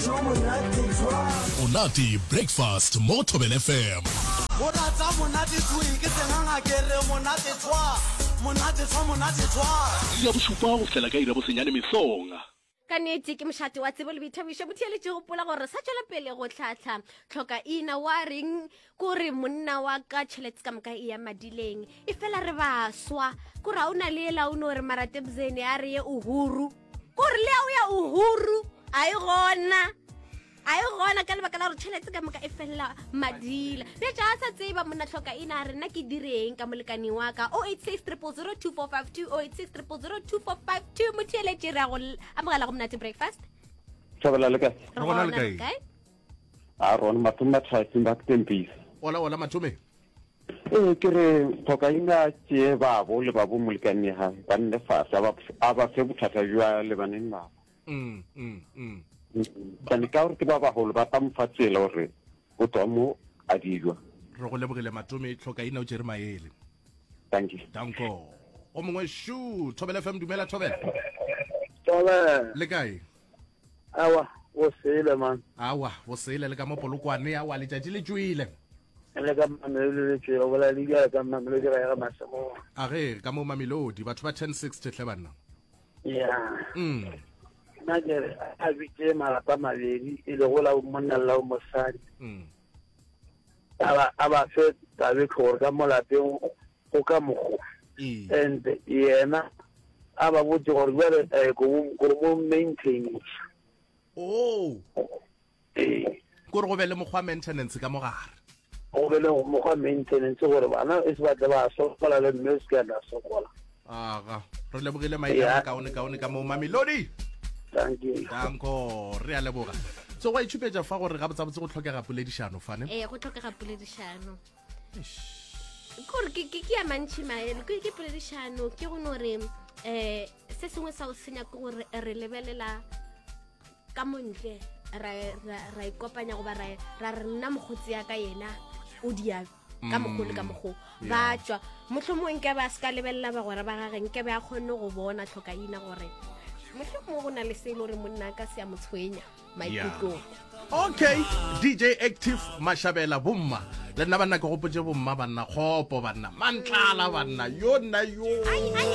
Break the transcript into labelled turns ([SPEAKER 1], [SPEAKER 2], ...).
[SPEAKER 1] Monate Breakfast mo Thobela FM. Iri ya bošupa go fihlela ka iri ya bosenyane mesong.
[SPEAKER 2] Ka nnete ke mošate wa tsebo le boithabišo. Motheeletši gopola gore re sa tšwela pele go hlahla tlhokaina wa reng kore monna wa ka tšhelete ka moka e ya madileng e fela re baswa kore ga o na le ela o no re maratebzene a re ye uhuru kore le ya o ya uhuru a e gona a e gona ka lebaka la gore tšhelete ka moka e felela madila bja a sa tseba monna tlhoka ina a re nna ke direng ka molekane wa ka 086 0002452 086 0002452 motheeletše re ya go amogela go monate breakfast
[SPEAKER 3] Thabela le kae?
[SPEAKER 2] Re gona le kae?
[SPEAKER 3] A rona mathome mathatsing ba ktempisa.
[SPEAKER 4] Ola ola mathome.
[SPEAKER 3] Ee ke re tlhoka ina tšee babo le babo molekane ga ba nne fase a ba a ba fe bothata bja lebaneng nabo.
[SPEAKER 4] Mm, mm, mm.
[SPEAKER 3] Kane ka gore ke ba bagolo ba tla mo fa tsela gore o tswa mo a dijwa.
[SPEAKER 4] Re go lebogile Matome tlhoka ina o tšere maele.
[SPEAKER 3] Thank you.
[SPEAKER 4] Danko. O mongwe shu Thobela FM dumela Thobela.
[SPEAKER 5] Thobela.
[SPEAKER 4] Le kae?
[SPEAKER 5] Awa, bo sele man.
[SPEAKER 4] Awa, bo sele le ka mo Polokwane awa letšatši le tšwile.
[SPEAKER 5] Le ka Mamelodi le tšwile, o bolela le bjale ka Mamelodi ga ya ga Masemoa.
[SPEAKER 4] A ge ka mo Mamelodi batho ba 1060 hle banna.
[SPEAKER 5] Ya.
[SPEAKER 4] Mm.
[SPEAKER 5] Nna ke re a bitše malapa mabedi e lego la monna le la mosadi.
[SPEAKER 4] Mm.
[SPEAKER 5] A ba a ba fe tabe gore ka mo lapeng go ka mokgo.
[SPEAKER 4] Ee.
[SPEAKER 5] And yena a ba botse gore bjale eh, ko ko mo maintenance.
[SPEAKER 4] Oh.
[SPEAKER 5] Ee.
[SPEAKER 4] Kore go be le mokgwa maintenance ka mogare.
[SPEAKER 5] Go be le mokgwa maintenance gore bana e se batle ba sokola le mme o se ke a tla sokola.
[SPEAKER 4] Aga, re lebogile maina yeah. kaone kaone ka mo Mamelodi.
[SPEAKER 5] Thank you.
[SPEAKER 4] Danko, re a leboga. So gwa itšhupetša fa gore gabotsabotse go tlhokega poledišano fane.
[SPEAKER 2] Ee, go tlhokega poledišano. Kore ke ke ya mantši maele, ke ke poledišano ke go no re eh se sengwe sa o senya ke gore re lebelela ka montle ra ra ra ikopanya goba ra ra re nna mokgotsi ya ka yena o dia ka mokgo le ka mm, mokgo ba tšwa mohlomongwe nke ba se ka lebelela bagwera ba gage nke be a kgonne go bona tlhokaina gore mohlomongwe go na le se e le gore monna ka se a mo tshwenya maikutlong
[SPEAKER 4] okay dj active mashabela bomma le nna banna ke gopotse bomma banna kgopo banna mantlala banna yo nna yo
[SPEAKER 2] ai, ai.